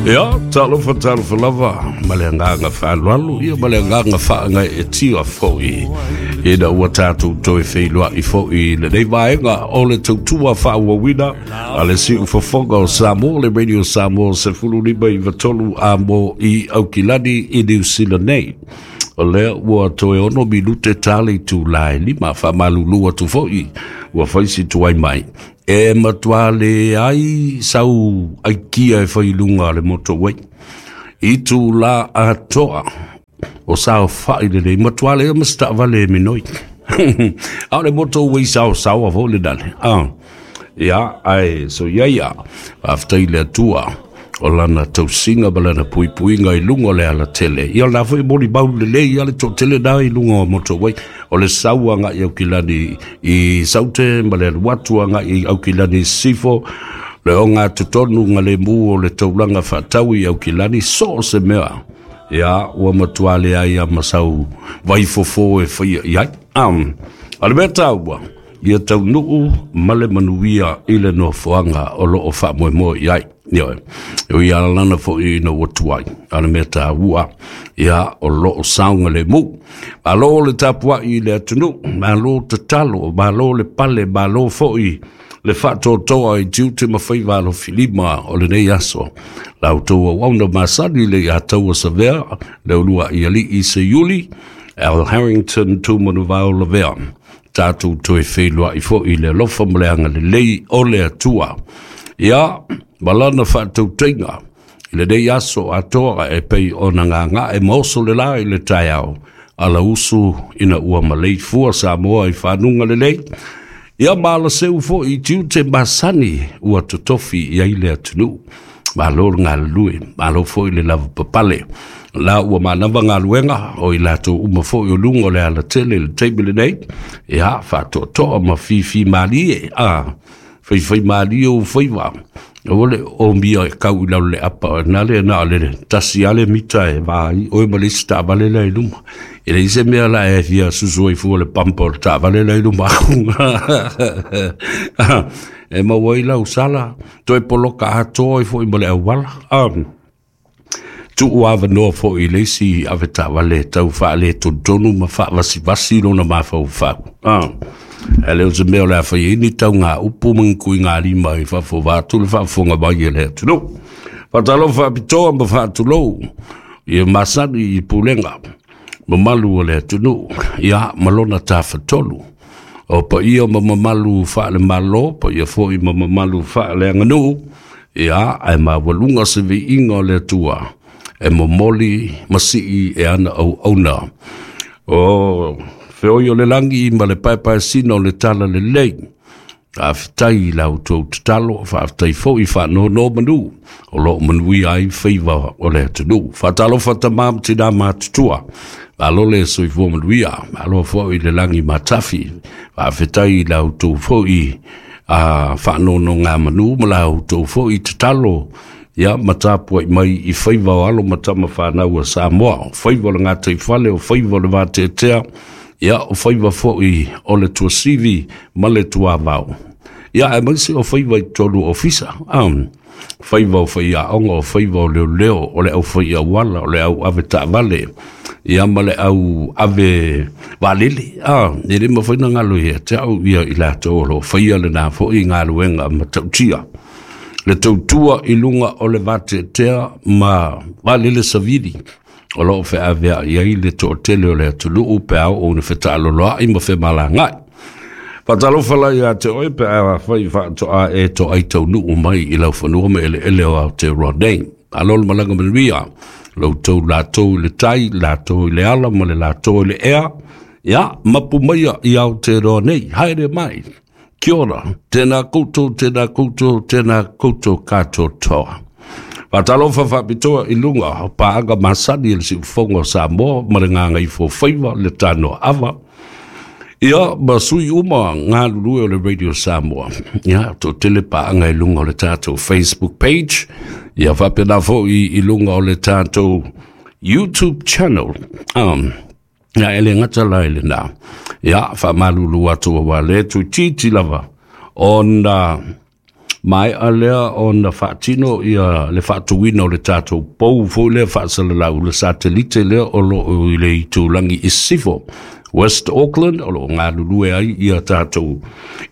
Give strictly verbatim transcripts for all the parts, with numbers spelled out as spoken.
Ia, talofa talofa lava ma le agaga faaaloalo, ia ma le agaga faagaeetia fo'i ina ua tatou toe feiloai fo'i i lenei vaega o le tautua faaauauina a le Siufofoga o Samoa, le Radio Samoa sefulu lima iva tolu amo i Aukilani i Niu Sila nei. O lea ua toe ono minute ta le itulā e lima. Faamalulu atu fo'i ua fai si tuai mai, e matuā leai sau aikia e fai i luga o le motorway i itulā atoa o saofa'i lelei, matuā leai ma se taavale e minoi, a o le motorway saosaoa foi le nale ah. Ia, ae so ia ia faafetai i le Atua o lana tausiga ma lana puipuiga i luga o le alatele. Ia o lena foi molimau lelei ia le toatele na i luga o motorway o le sau agaʻi Aukilani i Saute ma le alu atu agaʻi Aukilani i Sisifo, le oga totonu galemu o le taulaga faatau i Aukilani, so o se mea. Ia ua matuā leai a ma sau vaifofo e faia i ai. um, A le mea taua, ia taunuu ma le manuia i le nofoaga o loo faamoemoe i ai. Ioe, o ia lana fo'i ina ua tuai, a le mea taua ia o loo saogalemu. Malo le tapua'i i le atunuu, malo tatalo, malo le pale, malo fo'i le faatoatoa i tiute ma faiva alofilima o lenei aso. La outou auauna masani le ia taua savea le ulua i alii Seiuli Al Harrington Tumanuvao Lavea. Tatou toe feiloai fo'i i le alofa ma le agalelei o le Atua, ia ma lana faatautaiga i lenei aso atoa e pei ona gaga'e ma oso le lā i le taeao alausu ina ua maleifua Samoa i fanuga lelei, ia ma alaseu fo'i i tiute masani ua totofi i ai le atunuu. Malo le galulue, malo fo'i le lava papale. La ua manava galuega o i latou uma fo'i o luga o le alatele i le taimi lenei. Ia faatoatoa ma fifi malie a faifai malie ou faiva. Aua le omia e kau i lalo le apa na le na le tasi ale mita e vai oe ma le isi taavale la i luma. E leai se mea la e fia susu ai fua le pampa o le taavale la i luma e maua ai lau sala toe poloka atoa ai fo'i ma le auala. Um, tuu avanoa fo'i i le isi ave taavale tau faaletotonu ma faavasivasi lona mafaufau. Ah. E le o se mea o le a fai ai ni tauga upu ma ni kuigalima i fafo vaeatu le faafofoga mai e le atunuu. Faatalofa faapitoa ma faatulou ia masani i pulega mamalu o le atunuu, ia ma lona tafatolu o paia ma mamalu faale-Malo, paia foi ma mamalu faaleaganuu, ia ae maualuga se viiga o le Atua e momoli ma sii e ana auauna o feoi o le lagi ma le paepaesina o le tala lelei. Faafetai i la outou tatalo, faafetai foi faanonomanu o loo manuia ai faiva o le atunuu. Faatalofa tamā ma tinā matutua, malo le soifua manuia, malo foi le lagi matafi. Faafetai i la outou foi a faanonogamanu ma la outou foi tatalo, ia ma tapua'i mai i faiva o alo ma tama fanau a Samoa, o faiva o le gataifale, o faiva o le vateatea, ia o faiva fo'i o le tuasivi ma le tuavao, ia aemaise o faiva i totonu o ofisa, um, faiva o faiaoga, o faiva o leoleo, o le au faiauala, o le au ave taavale, ia ma le au ave vaalele. A e le mafai na galo ia te au ia i latou o loo faia lenā fo'i galuega matautia le tautua i luga o le vateatea ma vaalele savili o loo feavea'i ai le toatele o le atunuu pe a oo ina fetaaloloa'i ma femalaga'i. Faatalofa la ia te oe pe a fai faatoa e toai taunuu mai i lau fanua ma eleele o Aotearoa nei. Malo le malaga manuia loutou latou i le tai, latou i le ala ma le latou i le ea. Ia, mapu maia i Aotearoa nei, haere mai. Kia ora, tēnā koutou, tēnā koutou, tēnā koutou katoa. Faatalofa faapitoa i luga o paaga masani e le Siufofoga o Samoa ma le Gagaifofaiva le Tanoa Ava. Ia, ma sui uma galulue o le Radio Samoa. Ia, toatele paaga i luga o le tatou Facebook page. Ia, faapena fo'i i luga o le tatou YouTube channel. Um, ia, e le gata la i lenā. Ia, faamalulu atu auā le tuititi lava ona Maea lea ona faatino ia le faatuina o le tatou pou foi lea faasalalau, le satelite lea o loo i le itulagi i sisifo, West Auckland, o loo galulue ai ia tatou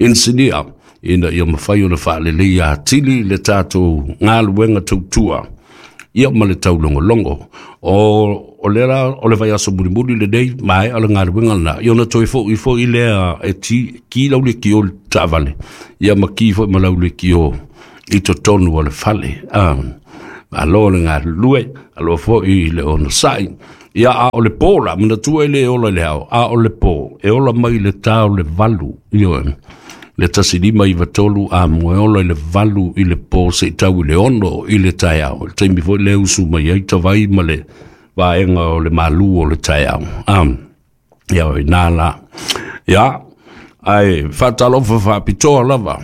inisinia ina ia mafai ona faaleleia atili le tatou galuega tautua ia ma le taulogologo. O o le la o le vaiaso mulimuli lenei maea le galuega lena ia ona toe fo'i fo'i lea e ti ki lau lekiō i le taavale ia ma ki foi ma lau lekiō i totonu o le fale. Ah, malo le galulue, alofa foi le onosai. Ia a o le pō la, manatua e le ola i le ao, a o le pō, e ola mai le tā o le valu, ioe, le tasi lima iva tolu a moe ola i le valu i le pō seia tau i le ono i le taeao. Le taimi foi lea usu mai ai tavai ma le vaega o le malū o le taeao. Um, ia o inā la. Ia, ae faatalofa faapitoa lava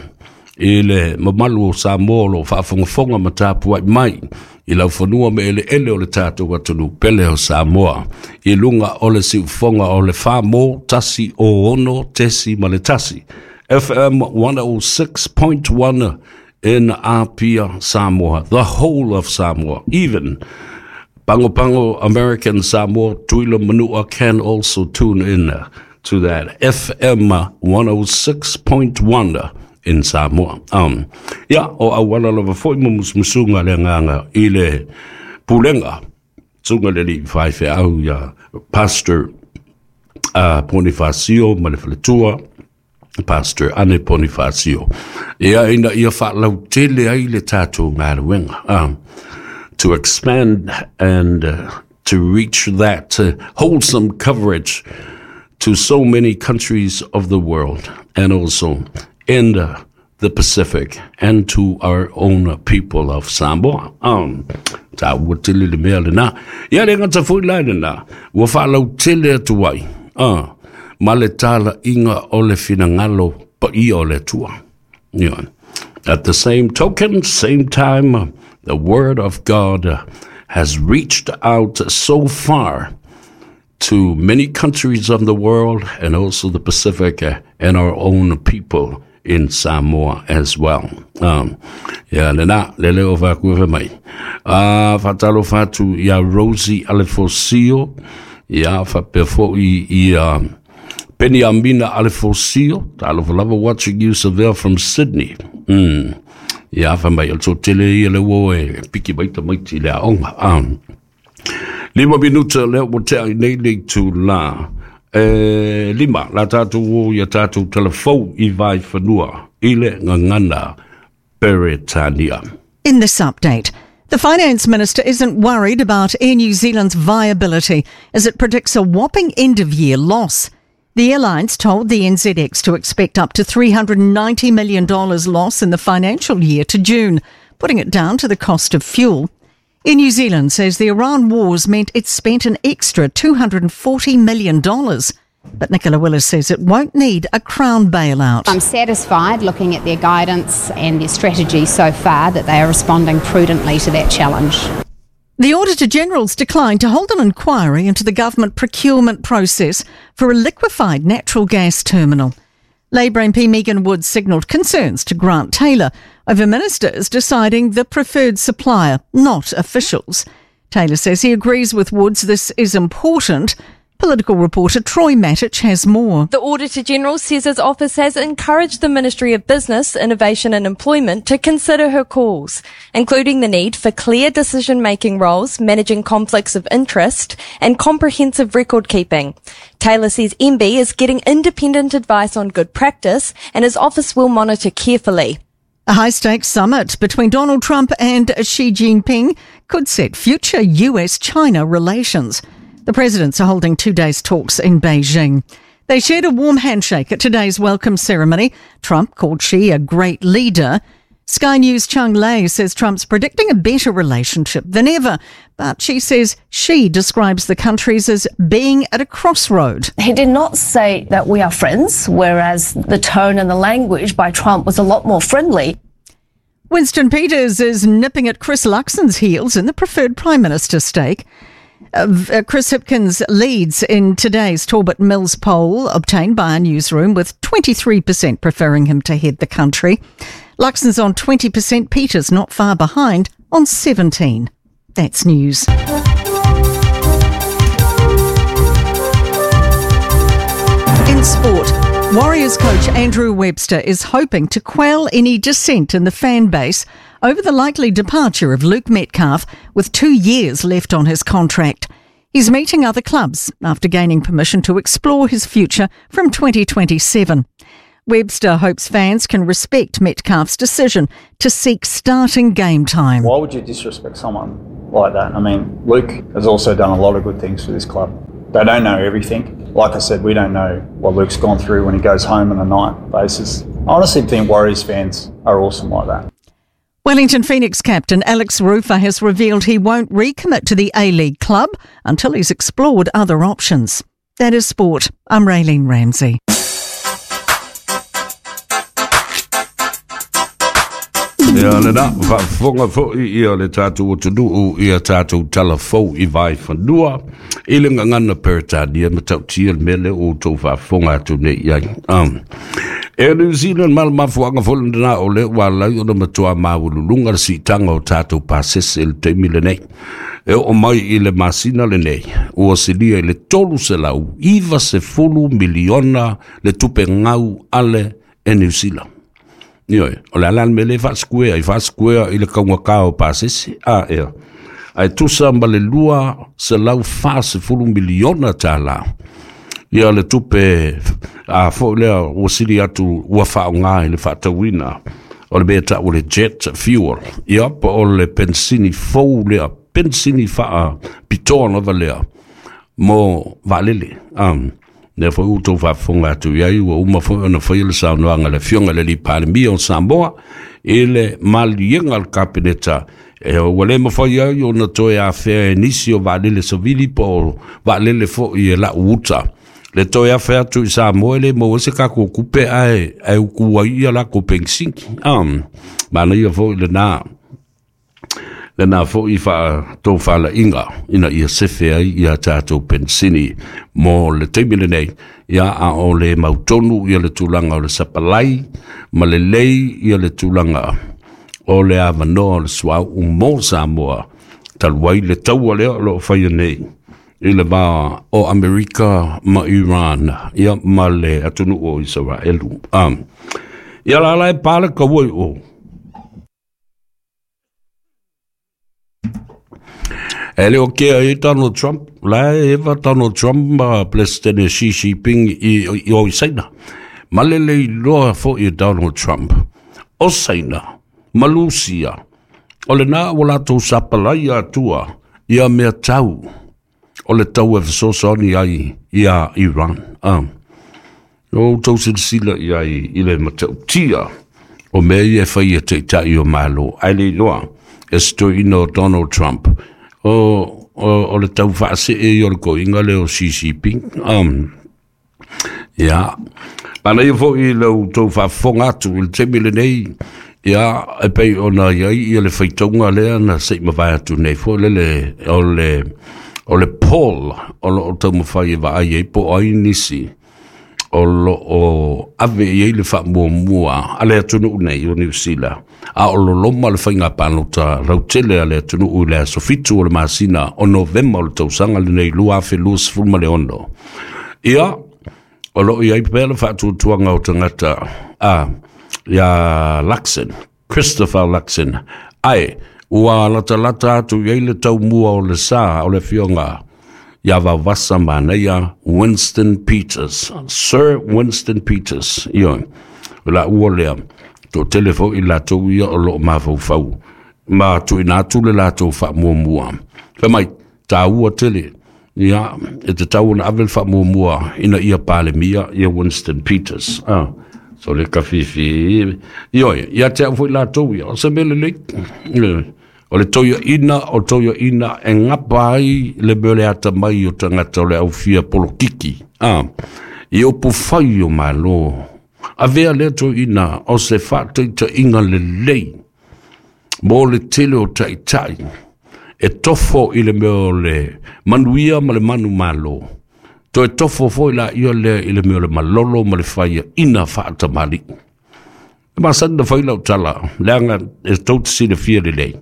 i le mamalu o Samoa o lo o faafogafoga ma tapuai mai i laufanua ma eleele o le tatou atunuu pele o Samoa i luga o le siufofoga o le fa mo tasi o ono tesi ma le tasi F M one oh six point one in Apia, Samoa, the whole of Samoa, even Pago Pago, American Samoa, Tutuila, Manua can also tune in to that F M one oh six point one in Samoa. Um, ia, o auala lava foi ma musumusuga le agaga i le pulega, susuga le alii faifeau ia Pastor uh, Ponifasio ma le faletua, Pastor Ane Ponifasio. Ia ina ia faalautele ai le tatou galuega. Um, to expand and uh, to reach that uh, wholesome coverage to so many countries of the world and also in the, the Pacific and to our own people of Samoa. Um, taua tele le mea lena. Ia le gata foi la lena, ua faalautele atu ai. Uh, ma le talaiga o le finagalo paia o le Atua. Yeah. At the same token, same time, the word of God has reached out so far to many countries of the world and also the Pacific and our own people in Samoa as well. Um, ia lena, le leo faakua mai. Uh, Faatalofa atu ia Rosie Alefosio, ia faapea foi ia Penny Amina Alefosio, talofa lava, watching you there from Sydney. Mm. Ia fa mai, o le tele ia le ua e piki mai tamaiti le aoga. Um, lima minuta lea ua tea i nei le itulā e lima la tatou o ia tatou telefou i vaifanua i le gagana Peretania. In this update, the finance minister isn't worried about Air New Zealand's viability as it predicts a whopping end of year loss. The airlines told the N Z X to expect up to three hundred ninety million dollars loss in the financial year to June, putting it down to the cost of fuel. Air New Zealand says the Iran wars meant it spent an extra two hundred forty million dollars. But Nicola Willis says it won't need a Crown bailout. I'm satisfied looking at their guidance and their strategy so far that they are responding prudently to that challenge. The Auditor General's declined to hold an inquiry into the government procurement process for a liquefied natural gas terminal. Labour M P Megan Woods signalled concerns to Grant Taylor over ministers deciding the preferred supplier, not officials. Taylor says he agrees with Woods this is important. Political reporter Troy Matich has more. The Auditor General says his office has encouraged the Ministry of Business, Innovation and Employment to consider her calls, including the need for clear decision-making roles, managing conflicts of interest and comprehensive record keeping. Taylor says M B is getting independent advice on good practice and his office will monitor carefully. A high stakes summit between Donald Trump and Xi Jinping could set future U S China relations. The presidents are holding two days' talks in Beijing. They shared a warm handshake at today's welcome ceremony. Trump called Xi a great leader. Sky News' Chung Lei says Trump's predicting a better relationship than ever, but she says Xi describes the countries as being at a crossroad. He did not say that we are friends, whereas the tone and the language by Trump was a lot more friendly. Winston Peters is nipping at Chris Luxon's heels in the preferred Prime Minister stake. Uh, uh, Chris Hipkins leads in today's Talbot Mills poll obtained by our newsroom, with twenty-three percent preferring him to head the country. Luxon's on twenty percent, Peters not far behind on seventeen. That's news. In sport, Warriors coach Andrew Webster is hoping to quell any dissent in the fan base over the likely departure of Luke Metcalf with two years left on his contract. He's meeting other clubs after gaining permission to explore his future from twenty twenty-seven. Webster hopes fans can respect Metcalf's decision to seek starting game time. Why would you disrespect someone like that? I mean, Luke has also done a lot of good things for this club. They don't know everything. Like I said, we don't know what Luke's gone through when he goes home on a night basis. I honestly think Warriors fans are awesome like that. Wellington Phoenix captain Alex Rufer has revealed he won't recommit to the A-League club until he's explored other options. That is sport. I'm Raylene Ramsey. Ia le na, whaafonga foi ia le tātou o tunuu ia tātou talafou i vai whanua i le ngangana Peretania ma tautia le mele o tau whaafonga atu nei ai. Um, e New Zealand mal mafuanga fo lena o le ua lai ona matua mawululunga le siitanga o tātou pasese le taimi lenei. E o mai i le masina lenei, ua silia i le tolu selau iwa sefulu miliona le tupe ngau ale e New Zealand. Ioe, o le ala mele whaaskuea, i whaaskuea i le kaunga kao pasese, a ea. Ai tusa ma le lua se lau whaasefulu miliona tāla. Ia le tupe a fo lea ua sili atu ua whaonga i le whaatawina. O le mea tau le jet fuel. Ia pa o le pensini fou lea, pensini whaa pitoa lava lea mo vaalele. Um, Nea foi utou whaafonga atu iai, ua uma foi ona whai le saunoanga le fionga le li Palemia o Samoa, i le malienga le kapeneta. E ua le mawhai ai o na toe a whea e nisi o vaalele savili po o vaalele fo i e lau uta. Le toe a whea atu i Samoa le mo ese kako kupe ae, ae ukua ia la ko pensinki. Um, mana ia foi le nā. Le nā foi wha tō whala inga ina ia sefe ai ia tātou pensini mo le taimi lenei ia a o le mautonu ia le tulaga o le sapalai ma le lei ia le tulaga o le avanoa o le suau mo Samoa talu ai le taua lea o loo faia nei i le vā o Amerika ma Iran ia ma le atunuu o Isaraelu. Um, ia la la e pale kaua i o. E leo kea e Donald Trump, la e eva Donald Trump ma President Xi Jinping i, i, o i Saina. Ma le le iloa fo i Donald Trump. O Saina, ma Lucia, o le nā o latou sapalai atua ia mea tau, o le tau e fesoasoani ai ia Iran. Um, o tau silasila i ai i le matautia o mea ia e whai e teitai o malo. Ai le iloa, e stoina o Donald Trump. O, o, o le tau whaase e i o le koinga le o Xi Jinping. Um, ia, mana ia foi i lau tau whaafonga atu i le temi lenei, ia, e pei ona iai ia le whaitaunga lea na sei mawai atu nei fo le le, o le, o le Paul, o lo o tau mawhai e vaai e po ai nisi, o lo o ave i ei le whaamuamua a le atunuu nei o New Zealand. A o lo loma le whainga pālota rautele a le atunuu i le aso fitu o le masina o Novema o le tausanga le nei lua afe lua sefulu ma le ono. Ia, o lo i ai pea le whaatuatuanga o tangata a ia Luxon, Christopher Luxon. Ai, ua latalata atu i ei le taumua o le sa o le fionga ia vavasa manaia Winston Peters, Sir Winston Peters. Ia, la ua lea, tō telefo i lātou ia o loo mafaufau, ma tuina atu le lātou whaamuamua. Wha mai, tā ua tele, ia, e te tau na ave le whaamuamua ina ia Palemia, ia Winston Peters. Ah, so le kafifi, ioi, ia te au foi lātou ia, o se mele lei, o le toia ina, o toia ina, e ngapa ai le mele ata mai o tangata o le aufia polokiki. Ah, i opu whai o malo. A vea lea toi ina o se whātaita inga le lei, mō le tele o taitai, e tofo i le mea o le manuia ma le manu malo. Toe tofo foi la ia lea i le mea o le malolo ma le whaia ina whaatamali. E masani na fai lau tala, leaga e tou te silafia lelei.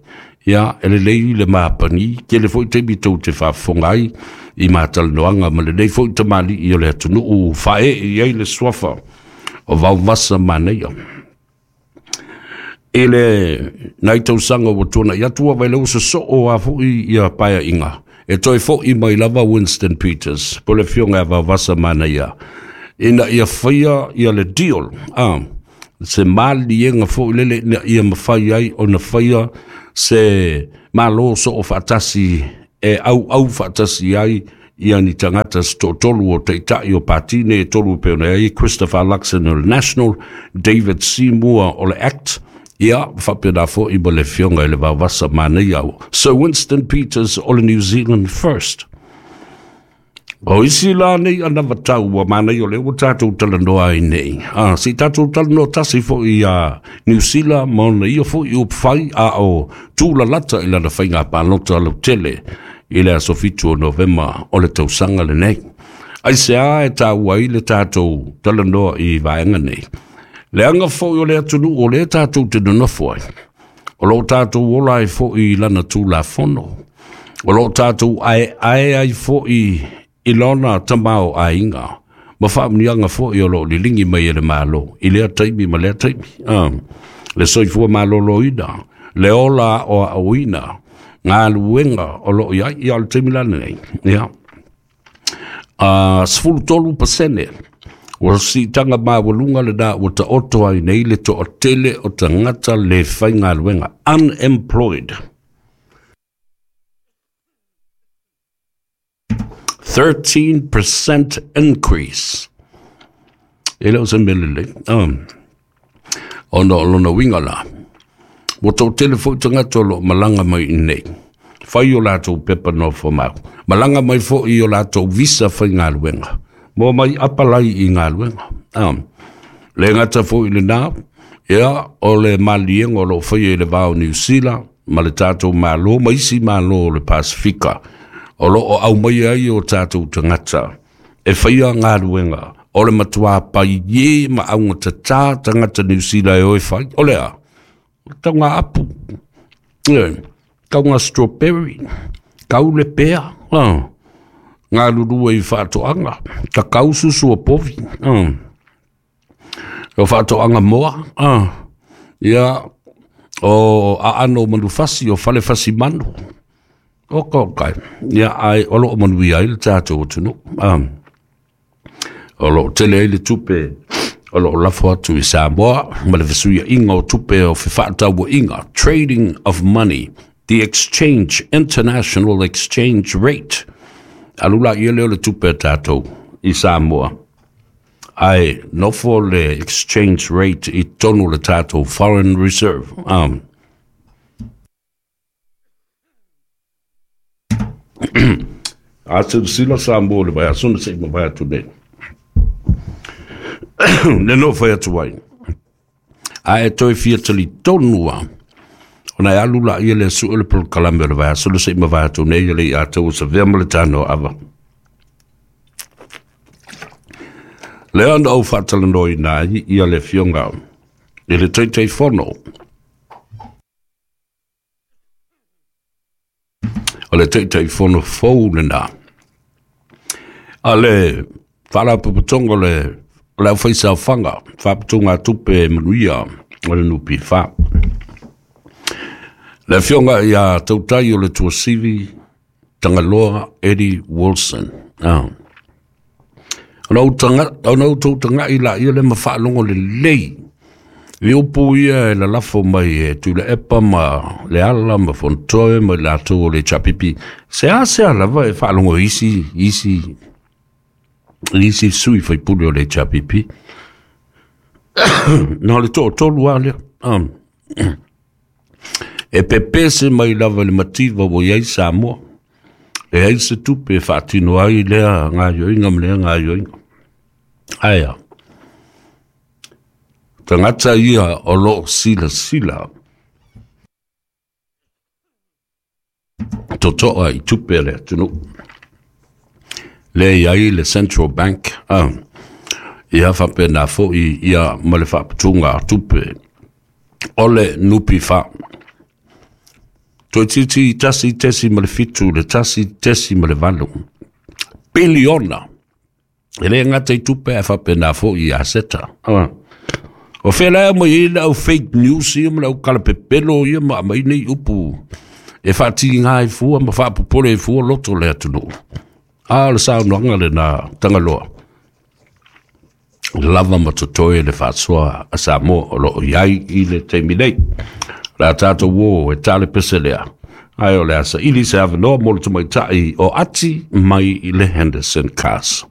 Ia, e lelei le mapagi, tele foi taimi tou te faafofoga ai i matalanoaga ma lenei foi tamalii o le atunuu faaee i ai le suafa o Vaovasa Manaia. I le nai tausaga ua tuana'i atu ua vaileu sosoo a foi ia paeaiga e toe fo'i mai lava Winston Peters po o le afioga ia Vaovasa Manaia ina ia faia ia le deal, a se maliega foi lele ina ia mafai ai ona faia se malo soo faatasi e auau faatasi ai ia ni tagata se toatolu o taitai o pati nei e tolu e pei ona i ai Christopher Luxon o le National, David Seymour o le ACT, ia faapena foi ma le afioga i le Vaovasa Manaia Sir Winston Peters o le New Zealand First. O isi la nei anavatau ua manaia o lea ua tatou talanoa ai nei. A, se i tatou talanoa tasi foi iā Niu Sila ma ona ia foi upufai a o tūlalata i lana faiga palota lautele i le aso fitu o Novema o le tausaga lenei. Aisea e taua ai le tatou talanoa i vaega nei? Leaga foi o le atunuu o lea tatou te nonofo ai. O lo o tatou ola ai foi i lana Tulafono. O lo o tatou aeae ai foi i lona tamaoaiga ma faamuniaga foi o lo o liligi mai e le Malo i lea taimi ma lea taimi. Ah, le soifua maloloina, le ola aoaoina, galuega o lo o i ai, ia o le taimi la lenei. Ia. Uh, sefulu tolu pasene ua siitaga maualuga lenā ua taoto ai nei le toatele o tagata le faigaluega, unemployed. thirteen percent increase. E le o se mea lelei. Um, ona o lona uiga la, ua toatele foi tagata o lo o malaga mai i nei. Fai o latou pepa nofomau. Malaga mai foi i o latou visa faigaluega. Mo mai apalai i galuega. Um, le gata foi i lenā, ia o le maliega o lo o faia i le va o Niu Sila ma le tatou Malo ma isi Malo o le Pasifika o lo o aumaia ai o tatou tagata e faia galuega o le matuā paiē ma augatatā tagata Niu Sila e o e fai. O le a? O le tauga apu, e, tauga strawberry, kau le pea, ah, galulue i faatoaga, kakau susu o povi, ah, o faatoaga moa, ah, ia, o aano o manufasi, o falefasi manu, o ka o kai, ia, ai, o lo o manuia ai le tatou atunuu, ah, o lo o tele ai le tupe o lo o lafo atu i Samoa ma le fesuiaiga o tupe o fefaatauaiga, trading of money, the exchange, international exchange rate. Alu la ia lea o le tupe a tatou i Samoa, ae nofo le exchange rate i totonu o le tatou foreign reserve. Um, a silasila Samoa i le vaiaso na se i mavae atu nei. Le nofo atu ai. A e toe fia talitonu lava, ona e alu laia le sue o le polokalame o le vaiaso na se i mavae atu nei e le i atoa ua savea ma le tanoa ava. Lea na ou faatalanoaina ai ia le afioga i le Taitaifono o le Taitaifono fou lenā a le Faalapotopotoga o le o le Aufaisaofaga Faaputugatupe Manuia o le N P F. Le afioga ia Tautai o le Tuasivi Tagaloa Eddie Wilson. Ah. Ona ou taga, ona outou taga'i laia le ma faalogo lelei i upu ia e lalafo mai e Tuilaepa ma Leala ma Fonotoe ma i latou o le H A P P. Se a se a lava e faalogo i isi, isi, isi sui faipule o le H A P P. Na o le toatolu lava lea. Um, e pepese mai lava i le mativa ua i ai Samoa. E ai se tupe e faatino ai lea gaoioiga ma lea gaoioiga. Ae a, tagata ia o lo o silasila totoa i tupe a le atunuu. Lea i ai le Central Bank, ah, Ia faapena foʻi ia ma le faaputuga tupe o le N P F. Toeitiiti tasi tesi ma le fitu le tasi tesi ma le valu piliona e lē gata i tupe ae faapena foʻi i aseta. O fea la mai ai le au fake news ia ma le au kalapepelo ia ma aumai nei upu e faatiga ai fua ma faapopole ai fua loto le atunuu? A o le saunoaga lena Tagaloa lava ma totoe le faasoa a Samoa o loo i ai i le taimi nei. Le a tatou o e tale pese lea, ae o le a saili se avanoa mo le tamaitai o Ati mai i le Henderson Cars.